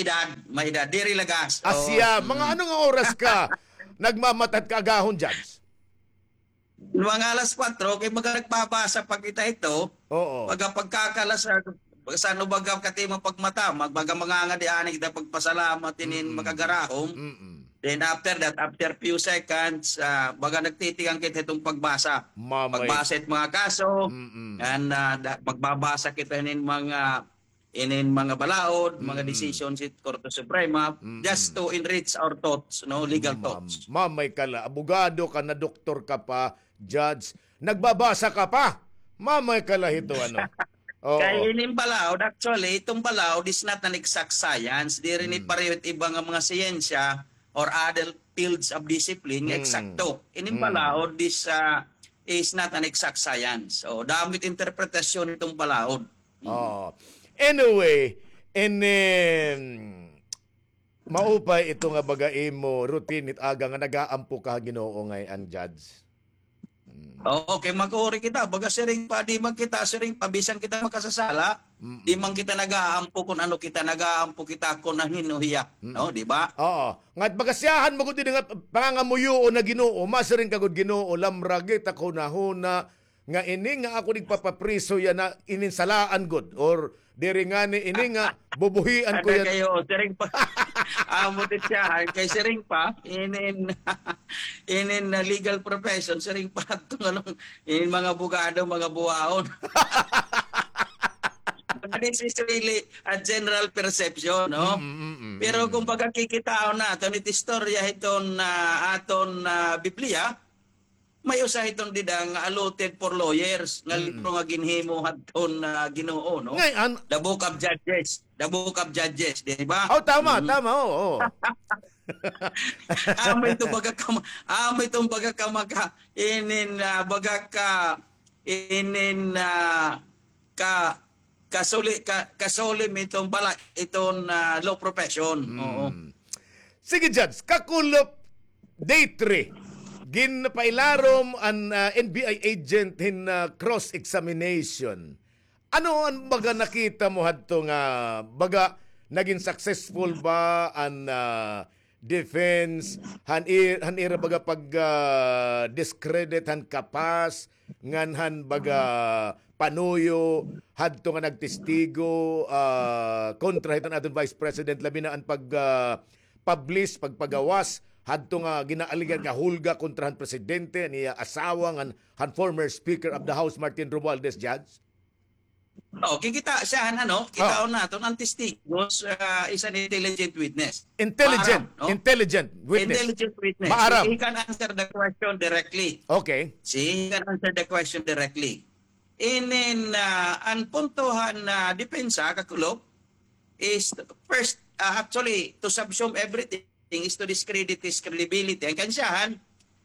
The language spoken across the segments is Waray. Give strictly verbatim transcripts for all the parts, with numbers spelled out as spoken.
edad, may edad. Diri lagas. Asya, mga ano nga oras ka nagmamata hit kaagahon, Judge? Mga alas kwatro, kay mga nagbabasa pa kita ito. Oo. Pagka pagkakalas, ah, sa ano baga kati mo pagmata, magbaga mangangadi ani kita pagpasalamat inin makagarahom. Mm-mm. Then after that, after few seconds, ah, baga nagtitigang kita itong pagbasa. Mamay. Pagbasa it mga kaso, mm-mm, and, ah, da-, magbabasa kita inin mga inin mga balaod, mga decision sa Korte Suprema, just to enrich our thoughts, no, legal thoughts. Mamay ka la, abogado ka na, doktor ka pa, judge, nagbabasa ka pa. Mamay ka la hito, ano. Oo. Kay inin balaod, actually, itong balaod is not an exact science. Diri ini pareho it iba nga mga siyensya or other fields of discipline nga eksakto. Inin balaod is, ah, is not an exact science. So, damo it interpretasyon itong balaod. Oo. Anyway, and then, maupay ito nga baga imo routine hit aga nga nagaampo ka ha Ginoo ngay-an, Judge. Mm. Oo, kay mag-uri kita, baga siring pa, di man kita siring pa, bisan kita makasasala, di man kita nagaampo kun ano kita, nagaampo kita kun hin-o hiya, no, di ba? Oo. Nga baga siyahan mo gud ini nga pangangamuyoon na Ginoo, masiring ka gud Ginoo, lamragi it ak hunahuna, nga ini nga ako igpapapriso yana, inin salaan gud, or diri ngani ini nga bubuhian ko yana. Kay, oo, siring pa. Amo it siyahan, kay siring pa, inin, inin na legal profession, siring pa adto nga inin mga abogado, mga buwaon. This is really a general perception, no? Mm, mm, mm, mm. Pero kung pagkakikitaon naton it istorya hiton, ah, aton, ah, Biblia, may usa hiton dida nga allotted for lawyers nga libro nga ginhimo hadton, ah, Ginoo, no? Ngay-an. The Book of Judges. The Book of Judges, di ba? Oh, tama, tama, oo, oo. Amo ito baga ka ma-, amo ito baga ka maka-, inin, ah, baga ka, inin, ah, ka, kasuli-, ka-, kasolemn iton bala-, iton, ah, law profession. Oo. Sige, Judge, kakulop, day three, ginpailarom an, ah, N B I agent hin, ah, cross-examination. Ano an baga nakita mo hadto nga baga nagin successful ba an, ah, defense han i-, han ira baga pag, ah, discredit han kapas ngan han baga panuyo hadto nga nagtestigo, ah, kontra hiton aton Vice President, labi na an pag, ah, publish, pagpagawas hadto nga ginaaligar nga hulga kontra han presidente, an iya asawa ngan han former Speaker of the House, Martin Romualdez, Judge? Oh, kikita siya, ano, kitaon naton, an testigos, ah, is an intelligent witness. Intelligent, maaram, no? Intelligent witness. Intelligent witness. Maaram. He can answer the question directly. Okay. See, he can answer the question directly. Inin, ah, an punto han, ah, depensa, kakulop, is first, ah, actually, to subsume everything, is to discredit his credibility. An kansyahan,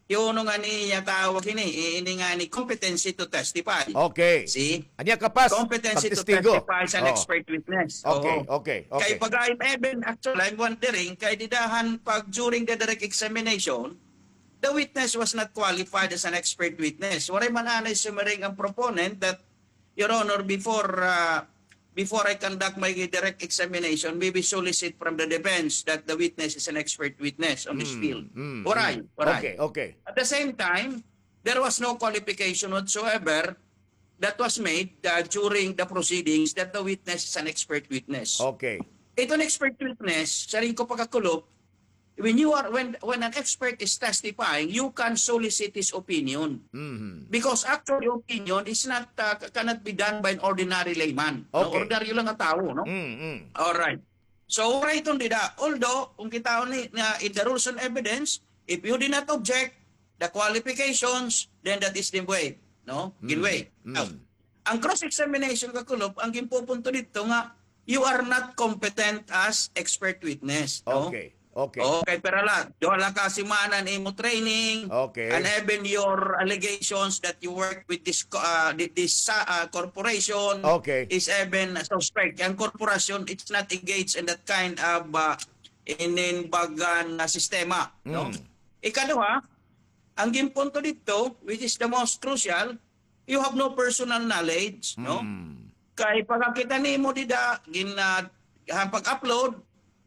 hiuno ngani iya tawag hini, i-, ini ngani competency to testify. Okay. See? An iya kapas, competency to testify is an expert witness. Okay, okay, okay. Kay pag-, even, actually, I'm wondering, kay dida han pag during the direct examination, the witness was not qualified as an expert witness. Waray man anay sumiring an proponent that, Your Honor, before, ah, before I conduct my direct examination, we will solicit from the defense that the witness is an expert witness on this field. Waray, waray. Okay, okay. At the same time, there was no qualification whatsoever that was made, ah, during the proceedings that the witness is an expert witness. Okay. Iton expert witness, siring ko pa, kakulop, when you are, when, when an expert is testifying, you can solicit his opinion. Because actually, opinion is not, uh, cannot be done by an ordinary layman. No? Okay. Ordinaryo lang nga tawo, no? All right. So, waray iton dida. Although, kung kitaon ni, nga in the rules on evidence, if you did not object the qualifications, then that is the way, no? Ginway. Now, an cross-examination, kakulop, an ginpupunto didto nga, you are not competent as expert witness, no? Okay. Okay. Okay, pero la, duha la ka semana an imo training, okay, and even your allegations that you work with this co-, ah, thi-, this, ah, corporation, okay, is even suspect. An corporation, it's not engaged in that kind of, ah, inin bagan nga sistema, no? Ikaduha, an ginpunto didto, which is the most crucial, you have no personal knowledge, no? Kay pagkakita nimo dida, gin-, ah, han pag-upload,